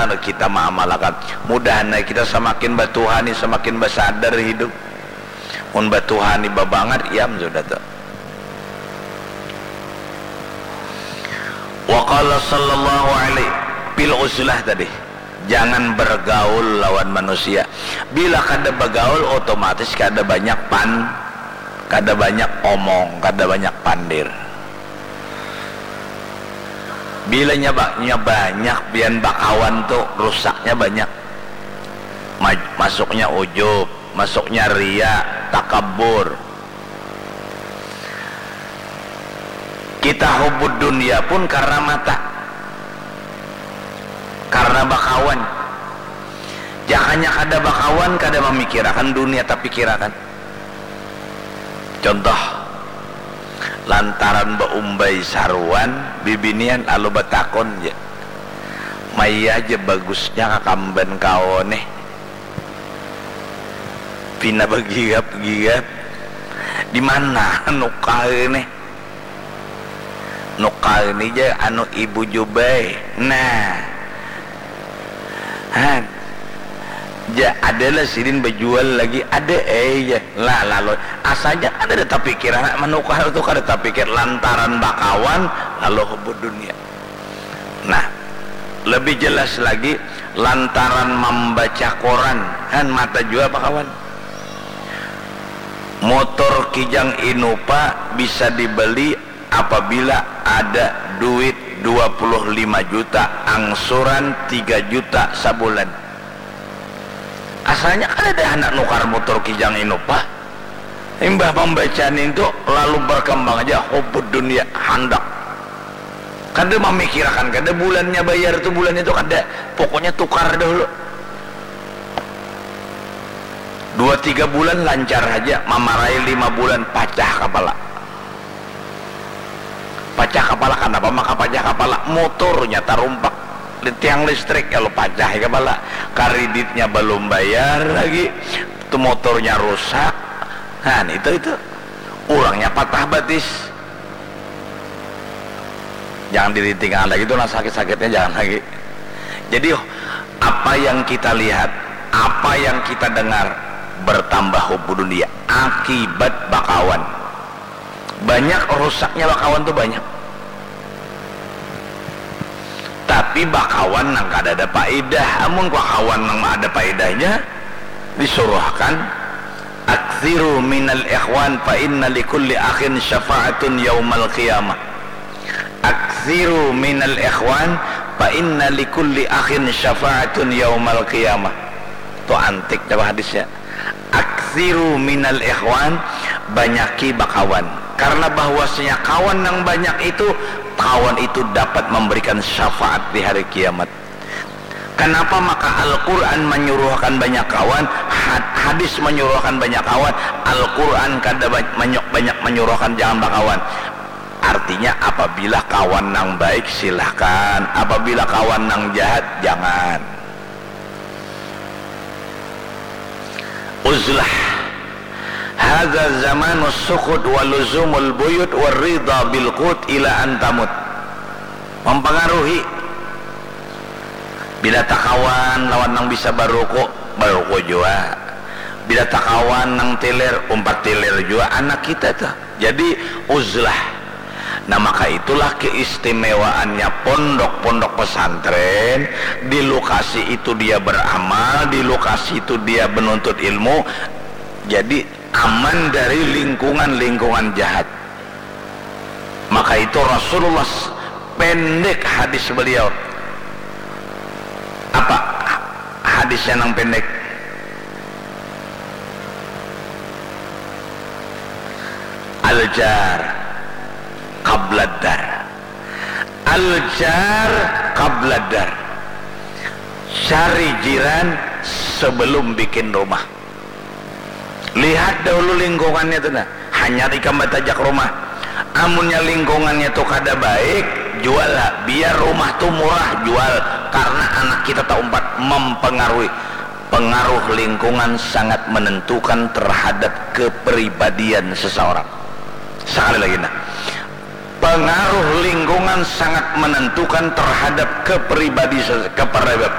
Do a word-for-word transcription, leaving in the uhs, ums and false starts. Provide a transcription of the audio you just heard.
anu kita maamalakan. Mudahan ai kita samakin batuhani, samakin basadar hidup. Mun batuhani babangat, iam sudah tu. Wa qala sallallahu alaihi, fil uzlah tadi. Jangan bergaul lawan manusia. Bila kada bagaul, otomatis kada banyak pan-, kada banyak omong, kada banyak pandir. Bila nya ba-, nya banyak pian bakawan tu, rusaknya banyak. Ma-, masuknya ujub, masuknya ria, takabur. Kita hubud dunia pun karena mata, karena bakawan. Jakanya kada bakawan, kada mamikirakan dunia tapikirakan. Contoh, lantaran baumbai saruan, bibinian lalu batakun ja, "Maya ja bagusnya kakamban kawa nih." Pina bagigap-gigap. "Di mana nukar nih?" "Nukar ni ja anu ibu jubai." Nah. Han. Ja, ada lah sidin bajual lagi, ada ai ja. Lah, lalu, asa ja kada ada tapikir, anak manukar tu kada tapikir, lantaran bakawan, lalu hubud dunia. Nah, lebih jelas lagi, lantaran mambaca koran, han, mata jua bakawan. Motor Kijang Innova bisa dibeli apabila ada duit dua puluh lima juta, angsuran tiga juta sabulan. Asalnya kada ada handak nukar motor Kijang Innova. Imbah mambaca nintu, lalu berkembang aja hubud dunia, handak. Kada mamikirakan, kada bulannya bayar tu, bulannya tu kada. Pokoknya tukar dahulu. Dua tiga bulan lancar haja, mamarai lima bulan pacah kapala. Pacah kapala, kanapa maka pacah kapala? Motornya tarumpak di tiang listrik, lalu pacah kapala. Kariditnya balum bayar lagi, tu motornya rusak. Nah, itu, itu. Urangnya patah batis. Jangan dirintingan lagi tu, nah, sakit-sakitnya jangan lagi. Jadi, apa yang kita lihat, apa yang kita dengar, bertambah hubud dunia akibat bakawan. Banyak rusaknya bakawan tu, banyak. Tapi bakawan nang kada ada paidah. Amun bakawan nang ada paidahnya, disuruhkan, "Aktsiru minal ikhwan fa inna likulli akhin syafa'atun yaumal qiyamah." "Aktsiru minal ikhwan fa inna likulli akhin syafa'atun yaumal qiyamah." Tu antik dah hadisnya. "Aktsiru minal ikhwan," banyaki bakawan. Karena bahwasanya kawan nang banyak itu, kawan itu dapat memberikan syafaat di hari kiamat. Kenapa maka Al-Quran menyuruhkan banyak kawan, had-, hadis menyuruhkan banyak kawan, Al-Quran kada ba-, menyu-, banyak menyuruhkan jangan bakawan? Artinya, apabila kawan nang baik, silahkan. Apabila kawan nang jahat, jangan. Uzlah. Hadza zamanus sukhut wa luzumul buyut wa ridha bil qut ila an tamut. Mempengaruhi. Bila takawan lawan nang bisa baruku, baruku jua. Bila takawan nang tilir, umpat tilir jua anak kita tuh. Jadi, uzlah. Nah, maka itulah keistimewaannya pondok-pondok pesantren, di lokasi itu dia beramal, di lokasi itu dia menuntut ilmu, jadi aman dari lingkungan-lingkungan jahat. Maka itu Rasulullah s-, pendek hadis beliau. Apa hadisnya nang pendek? Al-jar qabladar. Al-jar qabladar. Cari jiran sebelum bikin rumah. Lihat dahulu lingkungannya tu nah. Hanyar ikam batajak rumah. Amunnya lingkungannya tu kada baik, jual lah. Biar rumah tu murah, jual. Karena anak kita taumpat mempengaruhi. Pengaruh lingkungan sangat menentukan terhadap kepribadian seseorang. Sekali lagi nah, pengaruh lingkungan sangat menentukan terhadap kepribadi ses-, kepribadian.